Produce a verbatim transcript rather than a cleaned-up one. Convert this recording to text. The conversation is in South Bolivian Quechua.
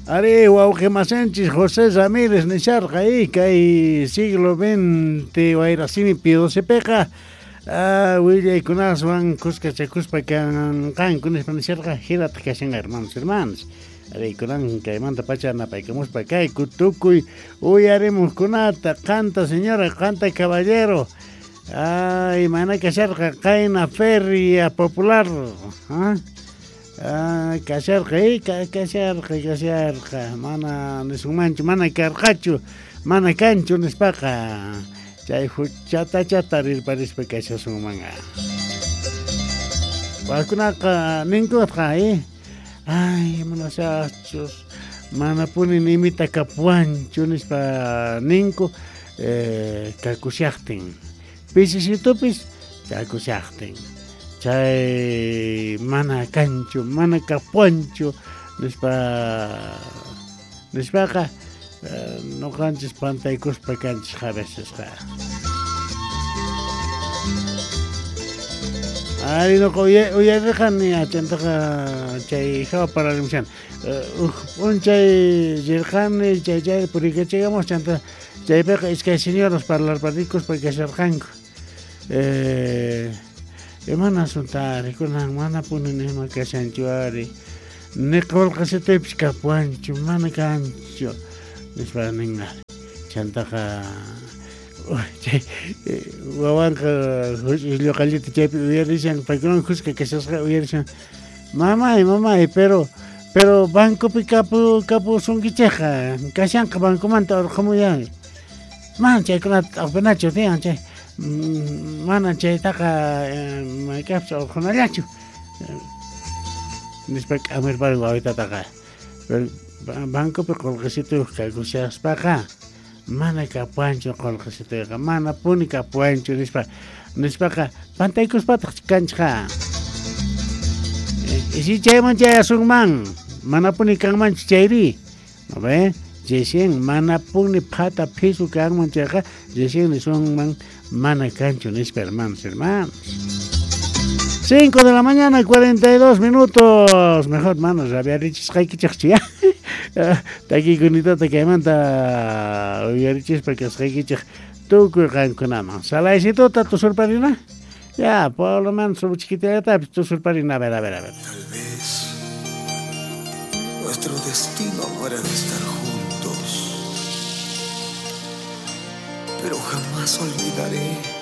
Ari wawqimasinchis José Ramírez nisharqa y kay siglo veinte wayrasimi pidosepeqa ah, willaykunaswan kuskachakuspa kanqanku nispa nisharqa hinataq kashanqa hermanos hermanos. Ari kunan kaymanta pacha napaykamuspa kayku tukuy uyarimuqkunata qanta señora qanta caballero. Ay, mana kasharqa qayna feria popular, ¿ah? Ah, kasharqa, eh, kasharqa, kasharqa, mana nisunmanchu, mana karqachu, mana kanchu nispaqa, chay huchatachata rirparispa kashasunmanqa. Wakunaqa ninkutqa, eh, ay, manasachus, manapuni nimita kapuanchu nispa ninku, eh, kakushaqtin, pisisitupis kakushaqtin. Chay mana kanchu, mana kapuanchu nispa nispaqa noqanchis pantaykuspa kanchis a vecesqa. Ari noqa uyarirqani achantaqa chay hawa pararimushan. Uj p'unchay rirqani chay chay purikachikamus chanta chaypiqa iskay señoras parlarparikuspa kasharqanku. Eh Mana asuntari, kunan mana puni nima kashanchu ari. Ni qolqasitipis kapuanchu, mana kanchu. Nispa ninqa. Chantaqa chay wawanqa lluqallita chaypi uyarishan, paykunawan kuska kashasqa uyarishan. Mamay, mamay, pero pero bancopi kapu kapusunkichikqa, kashanqa bancomanta urqhamuyani. Mana chaykunata t'aqpinachu tiyan chay. Mana chaytaqa mayk'aqpis urqhunallachu nispa k'amirpari wawitataqa. Pero bancopi qolqesituyuq kakushaspaqa mana kapuanchu qolqesituyqa, mana puni kapuanchu nispa nispaqa pantaykuspataq kanchqa. Y si chayman chayasunman, mana puni kanmanchu chayri, ¿no ve? Recién mana puni phata phisu kanman chayqa, recién nisunman mana kanchu nispa hermanos, hermanos. Cinco de la mañana, cuarenta y dos minutos. Mejor, manos, rabiarichisqaykichikchu ya. Takikunitata kaymanta uyarichispa kasqaykichik tukuy qankunaman. Salaysituta tusurparina. Ya, por lo menos chiquitillatapis tusurparina. A ver, a ver, a ver. Tal vez nuestro destino no era de estar juntos, pero jamás olvidaré